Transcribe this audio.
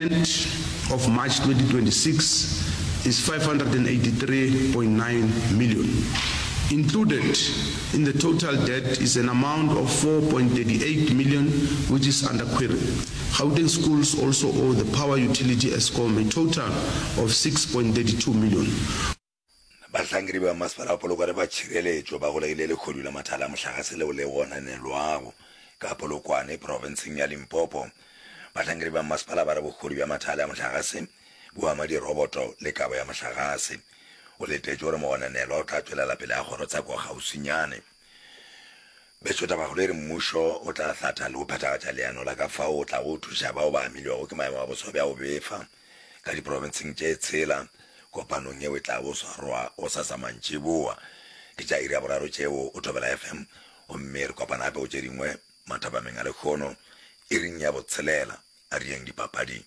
End of March 2026 is 583.9 million. Included in the total debt is an amount of 4.38 million which is under query. Gauteng schools also owe the power utility Eskom a total of 6.32 million. Bahlankedi ba Masepala wa Polokwane ba Tšhireletšo ba golegile lehodu la mathala a mohlagase leo le gononelwago ka Polokwane, profenseng ya Limpopo. Bahlankedi ba masepala ba re bohodu bja mathala a mohlagase bo ama diroboto le kabo ya mohlagase. Go letetšwe gore mogononelwa o tla tšwelela pele ga kgorotsheko kgauswinyane. Bešo tabakgolo e re mmušo o tla hlatha le go phethagatša leano la ka fao o tlago thuša bao ba amilwego ke maemo a boso bja go befa ka diprofenseng tše tshela kopanong yeo e tlago swarwa gosasa mantšiboa. Ke tša iri ya boraro tšeo o Thobela FM gomme re kopana gape go tše dingwe mathapameng a lekgono iring ya botshelela. A re yeng dipapading.